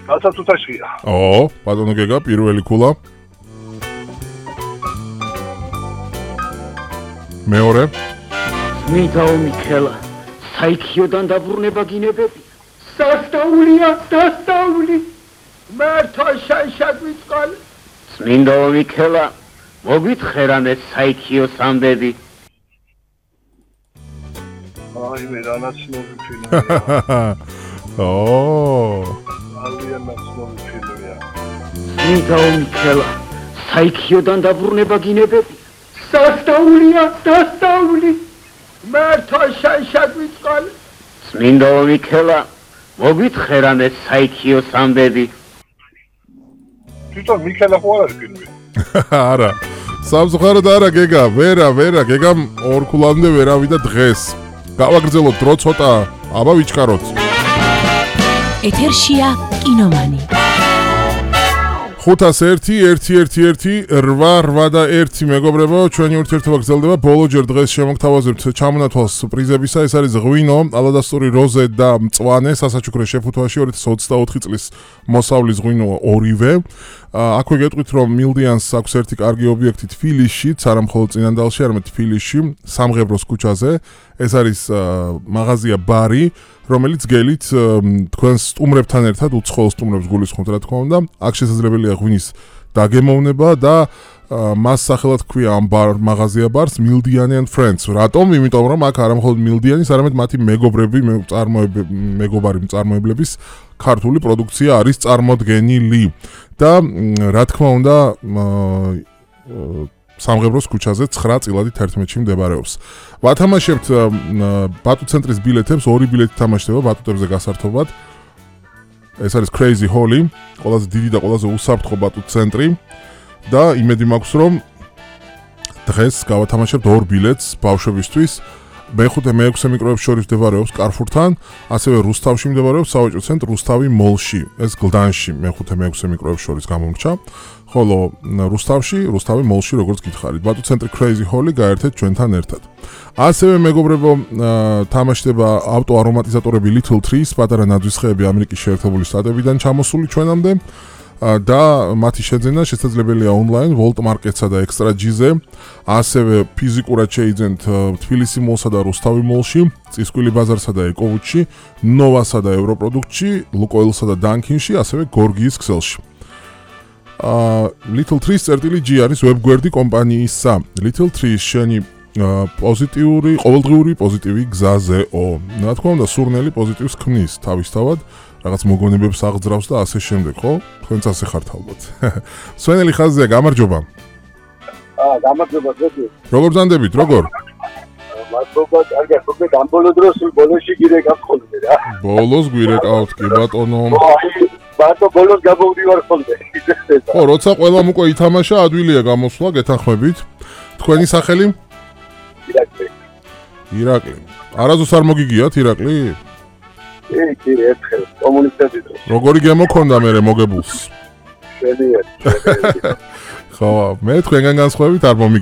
გასაცუთაშია. ბატონო გეგა, პირველი ქულა. მეორე. მითაო მიქელა, საიქიოდან დაბრუნება გინებები. სასტაულია, დასტაული. მართო შანშაგვიწყალ. წმინდაო მიქელა, მოგვითხრამე საიქიოს ამბები. აი მე რანაცნობი ფილმია. ძალიან ნაცნობი ფილმია. მითაო მიქელა, საიქიოდან დაბრუნება გინებები. სასტაულია, დასტაული. მართო შანშაგვიწყალ. წმინდაო მიქელა, მოგვითხრამე საიქიოს ამბები. თვითონ მიქელა ხო არ არის ფილმი? არა. სამწუხაროდ არა გეგა, ვერა, გეგამ ორ ქულამდე ვერ ავიდა დღეს. გავაგრძელოთ დრო ცოტა, აბა ვიჩქაროთ. ეთერშია კინომანი. 511-1-8-8 მეგობრებო, ჩვენი ურთიერთობა გრძელდება. ბოლოჯერ დღეს შემოგთავაზებთ ჩამონათვალს პრიზებისა. ეს არის ღვინო, ალადასტური როზე და მწვანე სასაჩუქრე შეფუთვაში 2024 წლის მოსავლის ღვინო ორივე. აქვე გეტყვით, რომ მილდიანს აქვს ერთი კარგი ობიექტი თბილისში, არა მხოლოდ წინანდალში, არამედ თბილისში, სამღებროს ქუჩაზე. ეს არის მაღაზია ბარი, რომელიც გელით თქვენს სტუმრებთან ერთად უცხოელ სტუმრებს გულისხმობთ, რა თქმა უნდა. აქ შესაძლებელია ღვინის დაგემოვნება და მას სახელად ქვია ამ მაღაზია ბარს მილდიანი and friends. რატომ? იმიტომ რომ აქ არა მხოლოდ მილდიანის, არამედ მათი მეგობარი მწარმოებლების ქართული პროდუქცია არის წარმოდგენილი. და რა თქმა უნდა სამღებროს ქუჩაზე 9 წილადი 11-ში მდებარეობს. ვათამაშებთ ბატუ ცენტრის ბილეთებს, ორი ბილეთი თამაშდება ბატუტებზე გასართობად. ეს არის Crazy Holly, ყველაზე დიდი და ყველაზე უსაფრთხო ბატუ ცენტრი და იმედი მაქვს რომ დღეს გავათამაშებთ ორ ბილეთს ბავშვებისთვის. მე-6 მიკროებს შორის მდებარეობს კარფურთან, ასევე რუსთავში მდებარეობს სავაჭრო ცენტრ რუსთავი მოლში. ეს გლდანში მე-6 მიკროებს შორის გამომრჩა. ხოლო რუსთავი მოლში როგორც გითხარით. ბატუ ცენტრი Crazy Holly გაერთეთ ჩვენთან ერთად. ასევე მეგობრებო, თამაშდება ავტო არომატიზატორები Little Trees, პატარა ნაძვისხეები ამერიკის შეერთებული შტატებიდან ჩამოსული ჩვენამდე. და მათი შეძენა შესაძლებელია ონლაინ Volt Market-სა და Extra G-ზე. ასევე ფიზიკურად შეიძენთ თბილისი მოლსა და რუსთავი მოლში, წისკვილი ბაზარსა და ეკოვუჩში, ნოვასა და ევროპროდუქტში, ლუკოილსა და დანკინში, ასევე გორგიის ქსელში. Little Trees G არის ვებგვერდი კომპანიისა. Little Trees შენი პოზიტიური, ყოველდღიური პოზიტივი გზაზეო. რა თქმა უნდა, სურნელი პოზიტივს ქმნის თავისთავად. რაღაც მოგონებებს აღძრავს და ასე შემდეგ, ხო? თქვენც ასე ხართ ალბათ. სვენელი ხაზია, გამარჯობა. გამარჯობა ძეთი. როგორ ზანდებით, როგორ? მადლობა, კარგია, ხო ამ ბოლო დროს ბოლოში გირეკავთ ხოლმე რა. ბოლოს გვირეკავთ კი ბატონო. ბატო ბოლოს გამოვდივარ ხოლმე. ხო, როცა ყველამ უკვე ითამაშა, ადვილია გამოსვლა, გეთანხმებით. თქვენი სახელი? ირაკლი. არაზოს არ მოგიგიათ ირაკლი? კი, ერთხელ კომუნისტები დროს. როგორი გემოქონდა მე მოგებულს? შენიერი. ხო, მე თქვენგან განსხვავებით არ